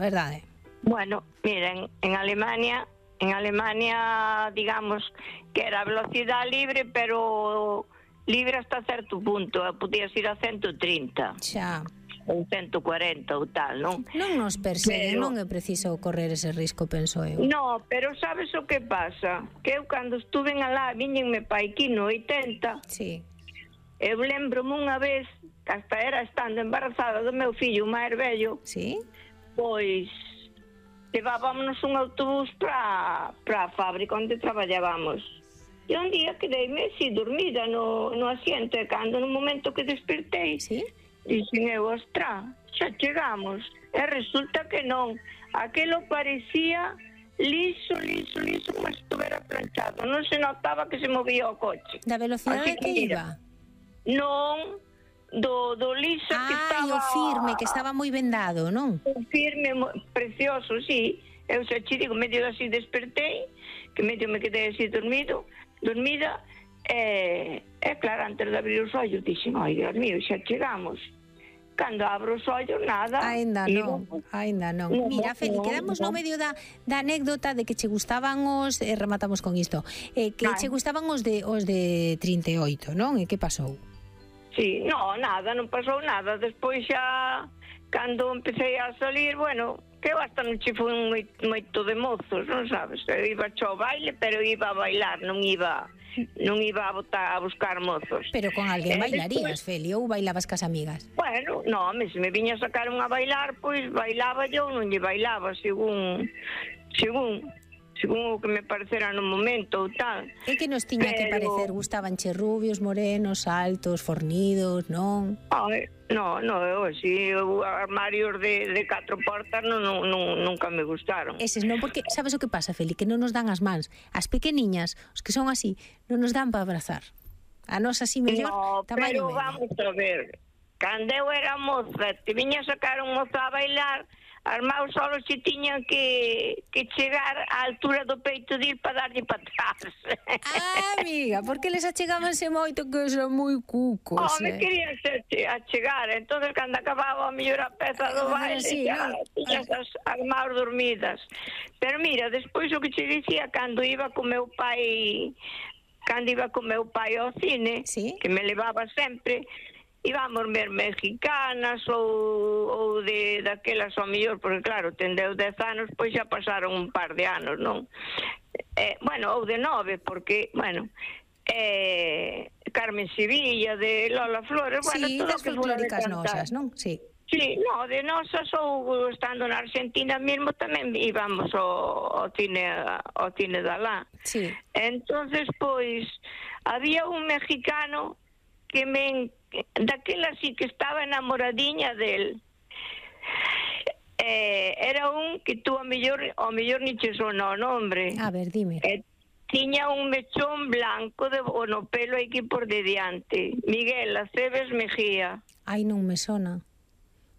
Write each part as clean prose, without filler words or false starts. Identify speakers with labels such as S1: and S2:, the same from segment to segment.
S1: verdade?
S2: Bueno, miren, en Alemania, digamos que era velocidade libre, pero libre hasta certo punto, podías ir a 130.
S1: Xa.
S2: Ou 140 ou tal, non?
S1: Non nos perseguen, non é preciso correr ese risco, penso eu.
S2: No, pero sabes o que pasa? Que eu cando estuve alá, viñenme pa aquí no 80,
S1: sí.
S2: Eu lembro-me unha vez, que hasta era estando embarazada do meu fillo, o máis vello,
S1: sí?
S2: Pois levábamos un autobús para a fábrica onde traballábamos. E un día quedeime así dormida no asiento, e cando no momento que despertei,
S1: sí?
S2: Dixen eu, ostra, xa chegamos. E resulta que non. Aquelo parecía liso, como se estuvera planchado. Non se notaba que se movía o coche.
S1: Da velocidade que iba?
S2: Non, do liso que estaba...
S1: o firme, que estaba moi vendado, non?
S2: O firme, precioso, sí. Eu xa che digo, medio así despertei, que medio me quedei así dormida, e claro, antes de abrir os ollos dixen, ai, Dios mío, xa chegamos. Cando abro os ollos, nada.
S1: Ainda non. Mira, Feli, quedamos no medio da anécdota de que che gustaban os, rematamos con isto, que che gustaban os de 38, non? E que pasou?
S2: Sí, nada, non pasou nada. Despois xa, cando empecé a salir, bueno, que eu hasta non che fui moito de mozos, non sabes? Eu iba ao baile, pero iba a bailar, non iba a buscar mozos.
S1: Pero con alguén bailarías, Feli, ou bailabas cas amigas?
S2: Bueno, se me viña a sacar a bailar, pois bailaba eu, non lle bailaba, según o que me parecera no momento ou tal.
S1: E que nos tiña que parecer? Gustabanche rubios, morenos, altos, fornidos, non?
S2: Eu así, armarios de 4 portas nunca me gustaron.
S1: Eses non, porque sabes o que pasa, Feli? Que non nos dan as mans. As pequeniñas, os que son así, non nos dan para abrazar. A nos así mellor, tamaño medio.
S2: Pero vamos a ver, cando eu era moza, te viña a sacar un mozo a bailar, armados solo se tiñan que chegar á altura do peito de ir para darlle para atrás.
S1: Amiga, porque les achegábanse moito que son moi cucos.
S2: Me querían achegar, entonces cando acababa a mellor a peza do baile, xa tiñas armados dormidas. Pero mira, despois o que che dicía, cando iba con meu pai ao cine, que me levaba sempre, íbamos ver mexicanas ou daquelas ao mellor, porque claro, tendeu 10 anos, pois xa pasaron un par de anos, non? Ou de 9, porque, Carmen Sevilla, de Lola Flores,
S1: sí, das folclóricas nosas, non? Sí.
S2: Sí, de nosas, ou estando na Argentina mesmo, tamén íbamos ao cine de alá.
S1: Sí.
S2: Entonces, pois, había un mexicano que daquela sí que estaba enamoradiña del. Era un que tú ao mellor ni che sona o nombre.
S1: A ver, dime.
S2: Tiña un mechón blanco no pelo aquí por de diante. Miguel Aceves Mejía.
S1: Ai, non me sona.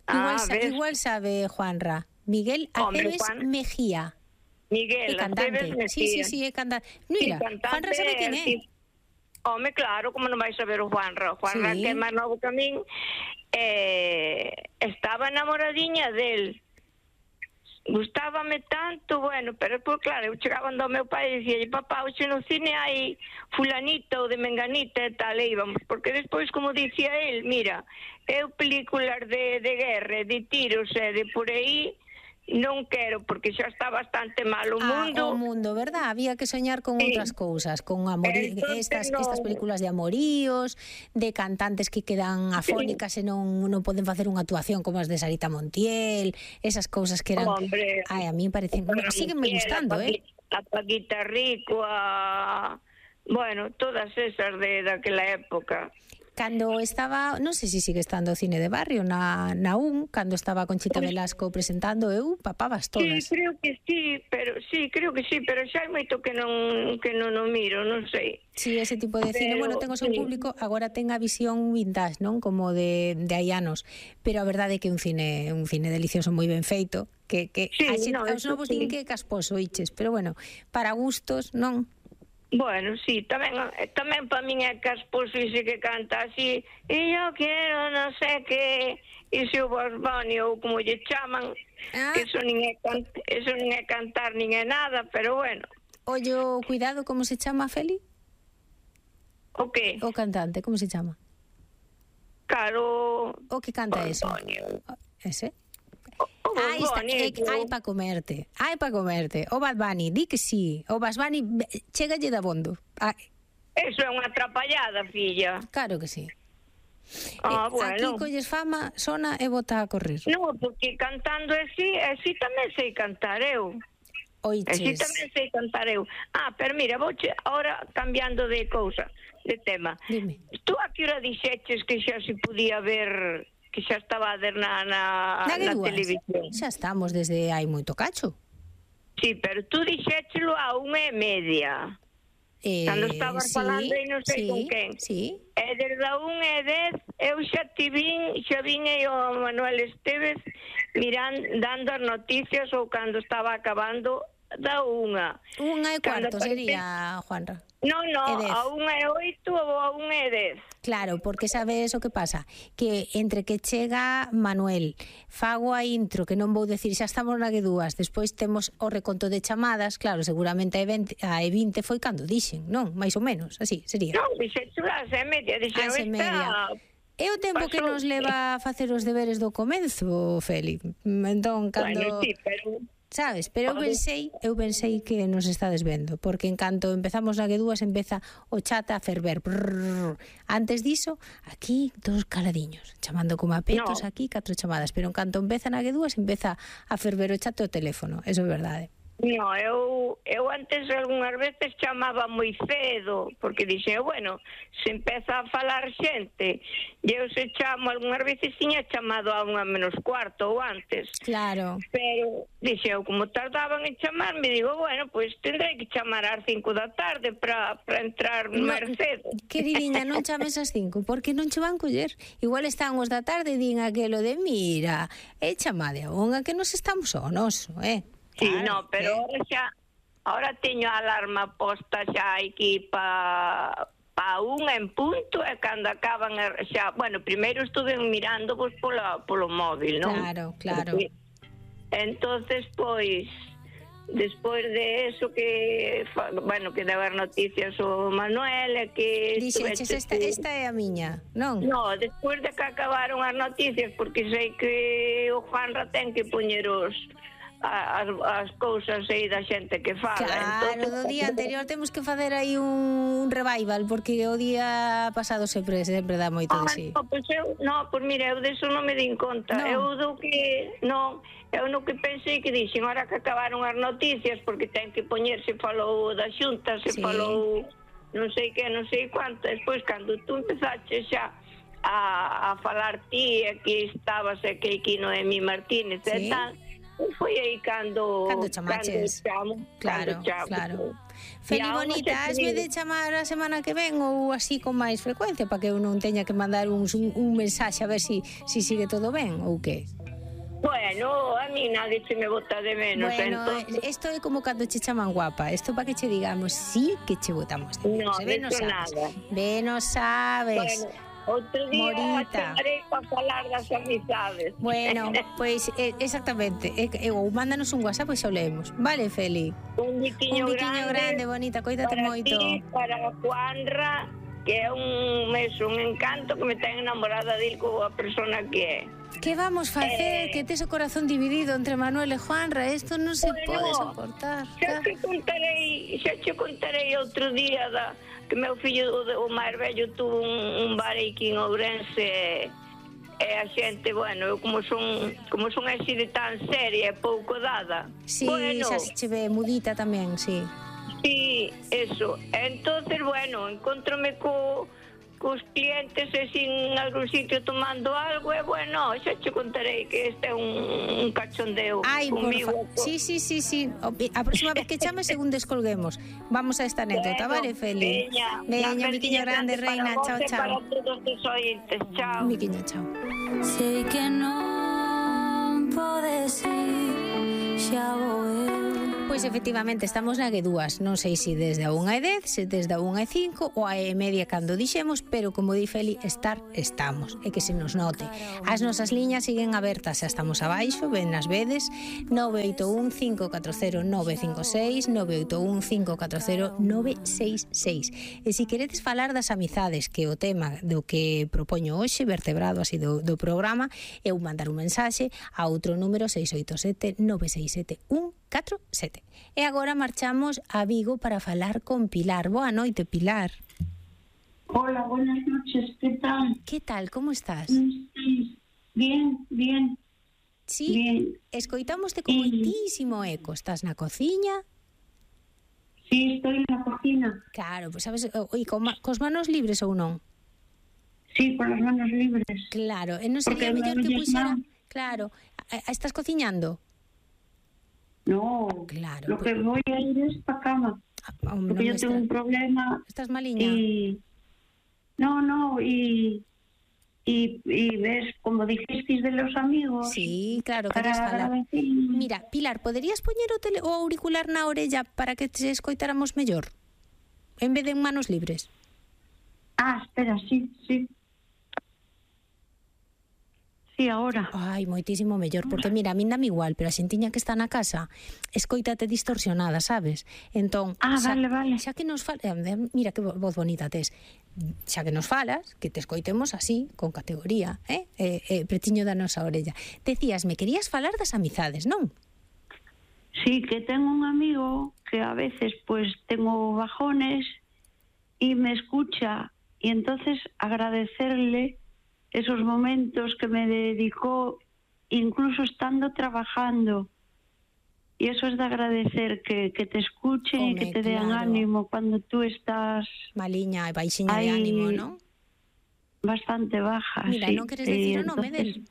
S1: Igual sabe Juanra. Miguel Aceves Mejía.
S2: Miguel Aceves Mejía.
S1: Sí, é cantante. Mira, Juanra sabe quen é.
S2: Home, claro, como non vais a ver o Juanra? Juanra, que é máis novo que a min, estaba enamoradiña del. Gustábame tanto, pero pues claro, eu chegaba ao meu pai e dicía, papá, hoxe no cine hai fulanita ou de menganita e tal, e íbamos, porque despois, como dicía el, mira, eu películas de guerra, de tiros e de por aí, non quero, porque xa está bastante mal o mundo.
S1: O mundo, verdad? Había que soñar con outras cousas, con estas películas de amoríos, de cantantes que quedan afónicas e non poden facer unha actuación como as de Sarita Montiel, esas cousas que eran... a mí me parecen... Síguenme gustando,
S2: A Paquita Rico, todas esas de daquela época.
S1: Cando estaba, non sei se sigue estando o cine de barrio na UN, cando estaba Conchita Velasco presentando, eu papabas todas.
S2: Sí, creo que sí, pero xa hai moito que non o miro, non sei.
S1: Sí, ese tipo de cine, ten o seu público, agora ten a visión vintage, non? Como de hai anos, pero a verdade é que é un cine delicioso, moi ben feito, que aos novos din que é casposo, iches, pero para gustos, non?
S2: Bueno, sí, tamén para min é que as posixe que canta así, e eu quero non sei que, e se o Bugs Bunny ou como lle chaman, que eso non é cantar nin é nada, pero bueno.
S1: Ollo, cuidado, como se chama, Feli?
S2: O que?
S1: O cantante, como se chama?
S2: Claro.
S1: O que canta eso? Ese? Hai pa comerte. O Bad Bunny, di que sí. O Bad Bunny chégalle da bondo.
S2: Eso é unha atrapallada, filla.
S1: Claro que sí.
S2: Bueno.
S1: Aquí colles fama, sona e bota a correr.
S2: No, porque cantando así tamén sei cantar eu.
S1: Oiches.
S2: Así tamén sei cantar eu. Pero mira, vouche ahora cambiando de cousa, de tema.
S1: Dime.
S2: Tú a que hora dixeches que xa se podía ver, que xa estaba a ver na televisión?
S1: Xa estamos desde hai moito cacho.
S2: Sí, pero tú dixéchelo a 1:30. Cando estabas falando e non sei con quen.
S1: Sí.
S2: E desde a 1:10 eu xa vin e o Manuel Esteves dando as noticias ou cando estaba acabando da 1:00.
S1: 1:15 sería, Juanra.
S2: No, a 1:08 ou a 1:10.
S1: Claro, porque sabes o que pasa? Que entre que chega Manuel, fago a intro, que non vou decir, xa estamos na G2, despois temos o reconto de chamadas, claro, seguramente a E20 foi cando dixen, non? Mais ou menos, así sería.
S2: Non, dixen as E:30, dixen esta...
S1: É o tempo que nos leva a facer os deberes do comenzo, Feli. Entón, cando...
S2: Bueno, sí, pero...
S1: Sabes, pero eu pensei que nos estades vendo, porque en canto empezamos na G2 empeza o chat a ferver. Brrr. Antes diso, aquí todos caladiños, chamando como a petos, aquí 4 chamadas, pero en canto empeza na G2 empeza a ferver o chat o teléfono, eso é verdade.
S2: No, eu antes algunhas veces chamaba moi cedo, porque dixen, bueno, se empeza a falar xente, e eu se chamo algunhas veces tiña chamado a 1:45 ou antes.
S1: Claro.
S2: Pero dixen, como tardaban en chamarme, digo, bueno, pois tendrei que chamar ás 5 da tarde para entrar máis cedo.
S1: Queridinha, non chames ás 5, porque non che van coller. Igual están os da tarde e din aquelo de, mira, chamade a unha que nos estamos ao noso,
S2: Sí, claro, pero ahora teño a alarma posta xa aquí pa 1:00 en punto, e cando acaban xa, bueno, primeiro estuve mirando vos polo móvil, non?
S1: Claro.
S2: Entonces, pois, despois de eso que, bueno, que daba as noticias o Manuel, que...
S1: Dixeches, esta é a miña, non?
S2: No, despois de que acabaron as noticias, porque sei que o Juanra ten que poñer as cousas aí da xente que fala.
S1: Claro, do día anterior temos que facer aí un revival, porque o día pasado sempre dá moito de sí.
S2: Pois mira, eu deso non me din conta. Eu no que pensei que dixen, ahora que acabaron as noticias, porque ten que poñerse, falou da Xunta, se falou non sei que, non sei cuánto, despois cando tú empezaches xa a falar ti, aquí estabas, que aquí Noemí Martínez e tal, foi aí cando
S1: chamaches. Claro. Feli, bonita, hasme de chamar a semana que ven ou así con máis frecuencia, para que eu non teña que mandar un mensaxe a ver si sigue todo ben ou que?
S2: Bueno, a mí nadie se me bota de menos.
S1: Bueno, esto é como cando che chaman guapa. Esto para que che digamos sí que che botamos de menos.
S2: No, nada.
S1: No sabes.
S2: Bueno, outro día chamarei para falar das amizades.
S1: Bueno, pois exactamente. Ou mándanos un WhatsApp e xa o leemos. Vale, Feli?
S2: Un biquiño
S1: grande, bonita, coídate moito.
S2: Para Juanra, que é un encanto, que me ten enamorada dil coa persona que é.
S1: Que vamos facer? Que tes o corazón dividido entre Manuel e Juanra. Isto non se pode soportar.
S2: Xa che contarei outro día que meu fillo, o máis vello, tuvo un bar aquí en Ourense, e a xente, bueno, eu como son así de tan seria e pouco dada.
S1: Sí, xa se che ve mudita tamén, sí.
S2: Sí, eso. Entonces, bueno, encontrome cos clientes e sin algún sitio tomando algo, e bueno, xa che contarei que este é un cachondeo comigo.
S1: Sí. A próxima vez que chame, según descolguemos. Vamos a esta anécdota, vale, Feli? Veña, biquiño grande, reina, chao.
S2: Para todos os ointes, chao.
S1: Biquiño, chao.
S3: Sei que non podes ir, xa vou eu.
S1: Pois efectivamente estamos na G2, non sei se desde a 1:10, se desde a 1:05 ou a 1:30 cando dixemos, pero como di Feli, estar estamos, e que se nos note. As nosas liñas siguen abertas, xa estamos abaixo, ben nas vedes, 981 540 956, 981 540 966. E se queredes falar das amizades, que é o tema do que propoño hoxe, vertebrado así do programa, eu mandar un mensaxe a outro número 687 967 147. E agora marchamos a Vigo para falar con Pilar. Boa noite, Pilar.
S3: Hola, buenas noches, ¿qué tal?
S1: Que tal, como estás?
S3: Bien, bien.
S1: Sí,
S3: bien.
S1: Escoitámoste con moitísimo eco. Estás na cociña?
S3: Sí, estoy en la cocina.
S1: Claro, pues sabes, e cos manos libres ou non?
S3: Sí, con las manos libres.
S1: Claro, e non sería mellor que puxera... Claro, estás cociñando?
S3: No,
S1: claro,
S3: lo que voy a ir es para cama. Porque yo tengo un problema.
S1: ¿Estás maliña?
S3: Y ves, como dijisteis de los amigos.
S1: Sí, claro, querías falar. Mira, Pilar, poderías poñer o auricular na orella para que te escoitáramos mellor? En vez de en manos libres.
S3: Espera, sí. Sí, ahora.
S1: Ai, moitísimo mellor, porque mira, a min dame igual, pero a xentiña que está na casa escoítate distorsionada, sabes? Entón,
S3: vale.
S1: Xa que nos falas, mira que voz bonita tes. Xa que nos falas, que te escoitemos así, con categoría, pretiño da nosa orella. Decías, me querías falar das amizades, non?
S3: Sí, que tengo un amigo que a veces pues tengo bajones y me escucha, y entonces agradecerle esos momentos que me dedicó, incluso estando trabajando. Y eso es de agradecer, que te escuchen y que te den ánimo cuando tú estás...
S1: Maliña e baixiña de ánimo, ¿no?
S3: Bastante baja.
S1: Mira,
S3: sí.
S1: non queres decir o nome del?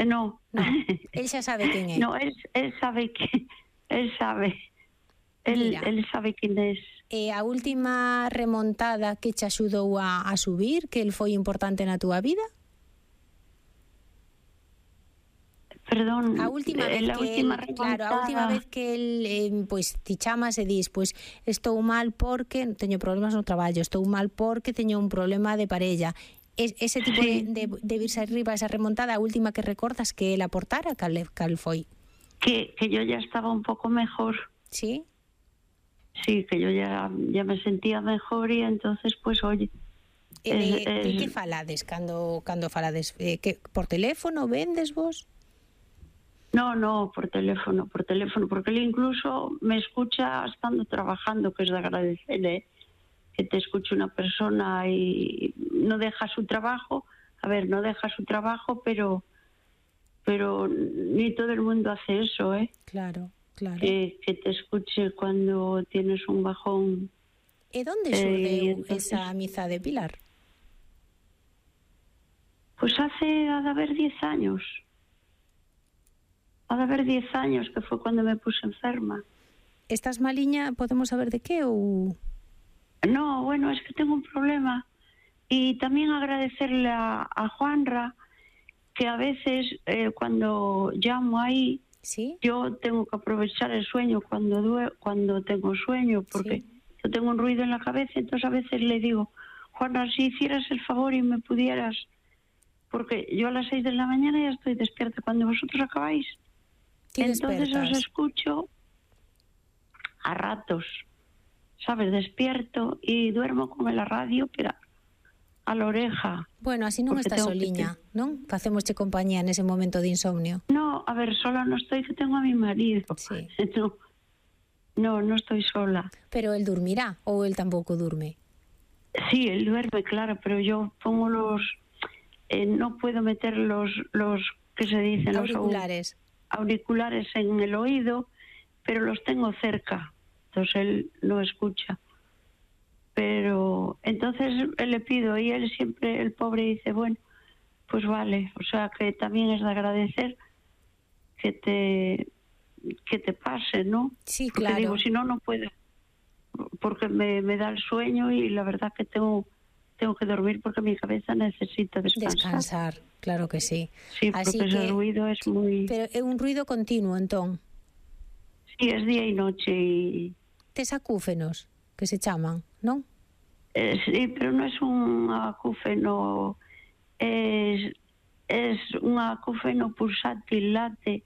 S3: No.
S1: Él xa sabe quen é.
S3: No, él sabe que... Él sabe. Él sabe quen es.
S1: E a última remontada que te axudou a subir, que el foi importante na túa vida?
S3: Perdón,
S1: a última vez que el pois ti chamas e dis, pois estou mal porque teño problemas no traballo, estou mal porque teño un problema de parella. Ese tipo de virse arriba, esa remontada, a última que recordas que el aportara, cal foi?
S3: Que yo ya estaba un pouco mejor.
S1: Sí?
S3: Sí, que yo ya me sentía mejor y entonces, pues, oye...
S1: De que falades cando falades? Que por teléfono vendes vos?
S3: No, por teléfono, porque él incluso me escucha estando trabajando, que es de agradecer, que te escuche una persona y no deja su trabajo. A ver, no deja su trabajo, pero ni todo el mundo hace eso,
S1: Claro.
S3: Que te escuche cuando tienes un bajón.
S1: ¿Y dónde xurdeu esa amizade, Pilar?
S3: Pues ha de haber 10 años. Ha de haber 10 años, que fue cuando me puse enferma.
S1: ¿Estás maliña? ¿Podemos saber de qué o...?
S3: No, bueno, es que tengo un problema. Y también agradecerle a Juanra, que a veces cuando llamo ahí,
S1: ¿sí?
S3: Yo tengo que aprovechar el sueño cuando tengo sueño, porque yo tengo un ruido en la cabeza, entonces a veces le digo, Juana, si hicieras el favor y me pudieras, porque yo a las 6 de la mañana ya estoy despierta, cuando vosotros acabáis, entonces os escucho a ratos, ¿sabes? Despierto y duermo con la radio, pero a la oreja.
S1: Bueno, así non estás soliña, non? Facémosche compañía nese momento de insomnio.
S3: No, a ver, sola no estoy, que tengo a mi marido.
S1: Sí.
S3: No estoy sola.
S1: Pero él dormirá, ou él tampouco durme?
S3: Sí, él duerme, claro, pero yo pongo no puedo meter los ¿qué se dicen?
S1: Auriculares.
S3: Los auriculares en el oído, pero los tengo cerca, entonces él no escucha. Pero entonces le pido y él siempre, el pobre, dice, bueno, pues vale, o sea que también es de agradecer que te pase, ¿no?
S1: Sí,
S3: porque
S1: claro.
S3: Digo, si no puedo, porque me da el sueño y la verdad que tengo que dormir porque mi cabeza necesita
S1: descansar. Claro que sí.
S3: Sí, porque ese ruido es muy...
S1: Pero é un ruido continuo, entón.
S3: Sí, es día e noche.
S1: Tes acúfenos, que se chaman, non?
S3: Sí, pero non é un acúfeno, es un acúfeno pulsátil late,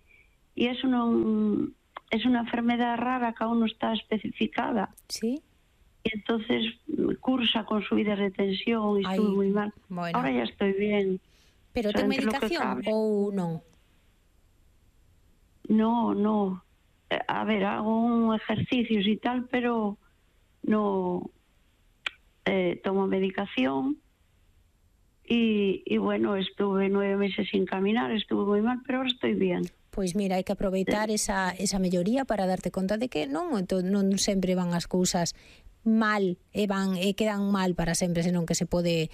S3: e es una enfermedad rara que aún no está especificada.
S1: Sí.
S3: Y entonces cursa con subidas de tensión y estuve muy mal.
S1: Bueno.
S3: Ahora ya estoy bien.
S1: Pero ten medicación ou non?
S3: No. A ver, hago ejercicios y tal, pero no tomo medicación y bueno, estuve 9 meses sin caminar, estuve muy mal, pero ahora estoy bien.
S1: Pois mira, hai que aproveitar esa melloría para darte conta de que non sempre van as cousas mal e quedan mal para sempre, senón que se pode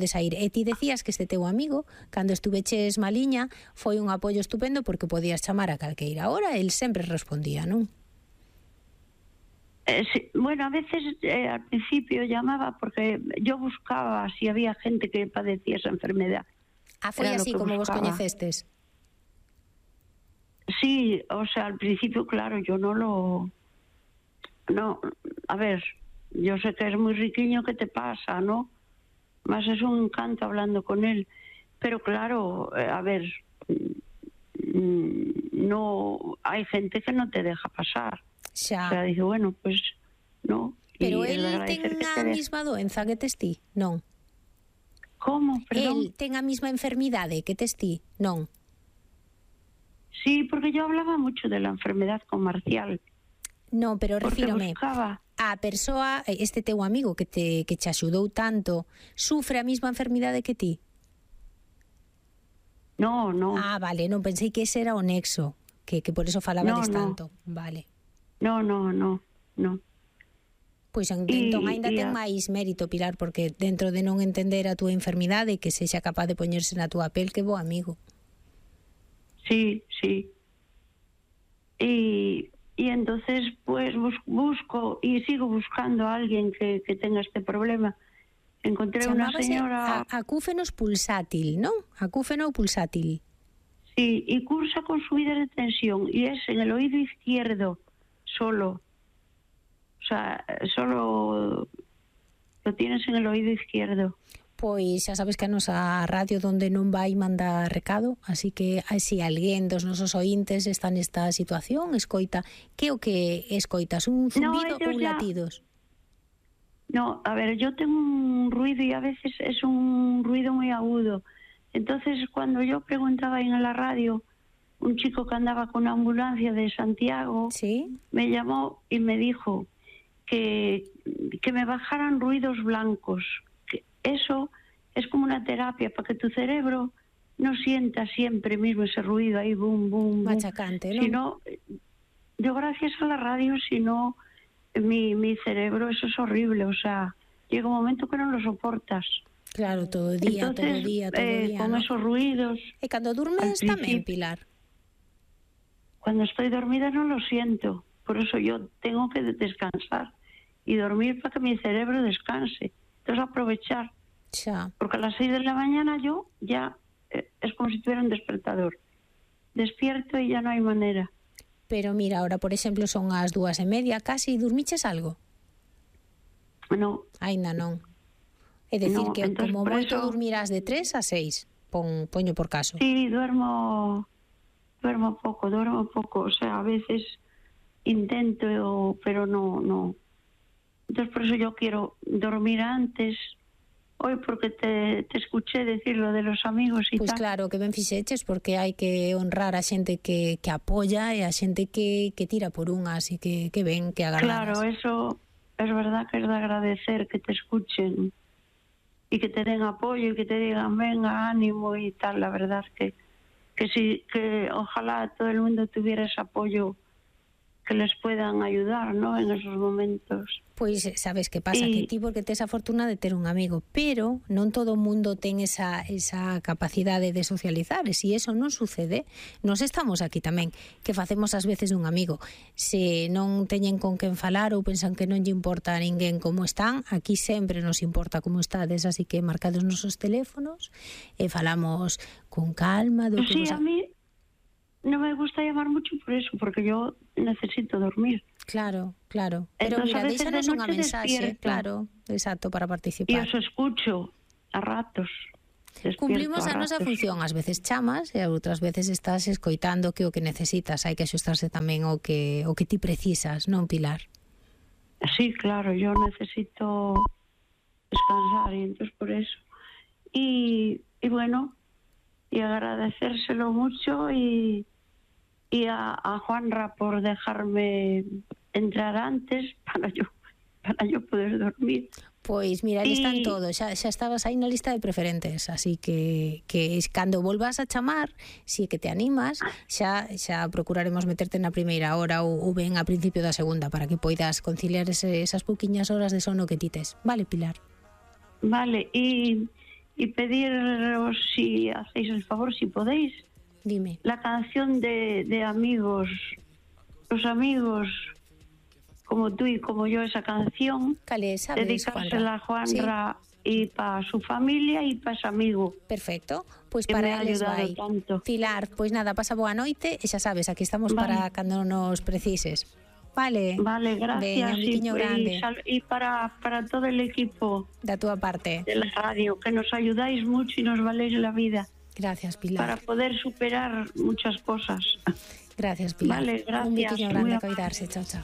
S1: sair. E ti decías que este teu amigo, cando estuveches maliña, foi un apoio estupendo porque podías chamar a calqueira hora, el sempre respondía, non?
S3: Sí, bueno, a veces al principio llamaba porque yo buscaba si había gente que padecía esa enfermedad.
S1: Foi así como vos coñecestes?
S3: Sí, o sea, al principio, claro, yo no, a ver, yo sé que es muy riquiño, ¿qué te pasa, no? Más es un encanto hablando con él. Pero claro, a ver, no, hay gente que no te deja pasar.
S1: Xa.
S3: O sea, dice, bueno, pues, no.
S1: Pero él ten a mesma doenza que tes ti, non?
S3: Como, perdón?
S1: Él ten a mesma enfermidade que tes ti, non?
S3: Sí, porque yo hablaba mucho de la enfermedad con Marcial.
S1: No, pero refírome a persoa, este teu amigo que te axudou tanto, sufre a mesma enfermidade que ti?
S3: No.
S1: Ah, vale, non pensei que ese era o nexo, que por eso falabades tanto. Vale.
S3: No.
S1: Pois entón ainda ten máis mérito, Pilar, porque dentro de non entender a túa enfermidade, que sexa capaz de poñerse na túa pel, que bo amigo.
S3: Sí. Y entonces pues busco y sigo buscando a alguien que tenga este problema. Encontré una señora...
S1: Acúfenos pulsátil, ¿no? Acúfeno pulsátil.
S3: Sí, y cursa con subidas de tensión y es en el oído izquierdo solo. O sea, solo lo tienes en el oído izquierdo.
S1: Pois xa sabes que a nosa radio donde non vai mandar recado, así que se alguén dos nosos ointes está nesta situación, escoita, que o que escoitas, un zumbido ou latidos?
S3: No, a ver, yo tengo un ruido y a veces es un ruido muy agudo. Entonces, cuando yo preguntaba en la radio, un chico que andaba con una ambulancia de Santiago,
S1: ¿sí?,
S3: me llamó y me dijo que me bajaran ruidos blancos. Eso es como una terapia para que tu cerebro no sienta siempre mismo ese ruido ahí, boom, boom,
S1: machacante, ¿no?
S3: Sino, yo gracias a la radio, si no, mi cerebro, eso es horrible, o sea, llega un momento que no lo soportas.
S1: Claro, todo el día,
S3: entonces,
S1: todo día,
S3: con, ¿no?, esos ruidos.
S1: ¿Y cuando duermes también, Pilar?
S3: Cuando estoy dormida no lo siento, por eso yo tengo que descansar y dormir para que mi cerebro descanse. Entonces aprovechar, porque a las 6 de la mañana yo ya es como si tuviera un despertador. Despierto y ya no hay manera.
S1: Pero mira, ahora por ejemplo son as 2:30, casi, dormiches algo?
S3: No.
S1: Ainda non. É dicir que como moito dormirás de 3 a 6, poño por caso.
S3: Sí, duermo poco, o sea, a veces intento, pero no. Entonces por eso yo quiero dormir antes. Hoy porque te escuché decir lo de los amigos y
S1: pues
S3: tal. Pues
S1: claro, que ben fixeches, porque hai que honrar a xente que apoia e a xente que tira por unhas e que ven, que agarradas.
S3: Claro, eso es verdad que es de agradecer, que te escuchen y que te den apoyo y que te digan venga, ánimo y tal. La verdad que sí, que ojalá todo el mundo tuviera ese apoyo que les puedan ayudar, ¿no?, en esos momentos.
S1: Pois sabes que pasa, que ti porque tes a fortuna de ter un amigo, pero non todo o mundo ten esa capacidade de socializar, e se eso non sucede, nos estamos aquí tamén, que facemos ás veces dun amigo. Se non teñen con quen falar ou pensan que non lle importa a ninguén como están, aquí sempre nos importa como estades, así que marcades os nosos teléfonos e falamos con calma do que
S3: sí, a mí no me gusta llamar mucho por eso, porque yo necesito dormir.
S1: Claro, claro. Pero
S3: Entonces,
S1: mira,
S3: a veces
S1: déxanos
S3: de
S1: unha
S3: noche
S1: mensaxe,
S3: despierto.
S1: claro, exacto, para
S3: E
S1: participar.
S3: os escucho a ratos. Despierto
S1: Cumplimos a nosa
S3: ratos.
S1: función, ás veces chamas e outras veces estás escoitando que o que necesitas, hai que axustarse tamén o que ti precisas, non, Pilar?
S3: Sí, claro, yo necesito descansar y entonces por eso. Y bueno, y agradecérselo mucho y a Juanra por dejarme entrar antes para yo poder dormir.
S1: Pois mira, ali están todos, xa estabas aí na lista de preferentes, así que cando volvas a chamar, si que te animas, xa procuraremos meterte na primeira hora ou ben a principio da segunda para que poidas conciliar esas pouquiñas horas de sono que tites. Vale, Pilar?
S3: Vale, y pediros si hacéis el favor, si podéis,
S1: dime,
S3: la canción de amigos, los amigos como tú y como yo, esa canción, dedicársela a Juanra, sí, y para su familia y para su amigo.
S1: Perfecto, pois para eles vai.
S3: Tanto.
S1: Pilar, pois nada, pasa boa noite e xa sabes, aquí estamos para cando nos precises. Vale.
S3: Vale, gracias.
S1: Un grande.
S3: Y para todo el equipo
S1: da túa parte
S3: de la radio, que nos ayudáis mucho y nos valéis la vida.
S1: Gracias, Pilar.
S3: Para poder superar muchas cosas.
S1: Gracias, Pilar.
S3: Vale, gracias.
S1: Un biquiño grande a cuidarse. Chao, chao.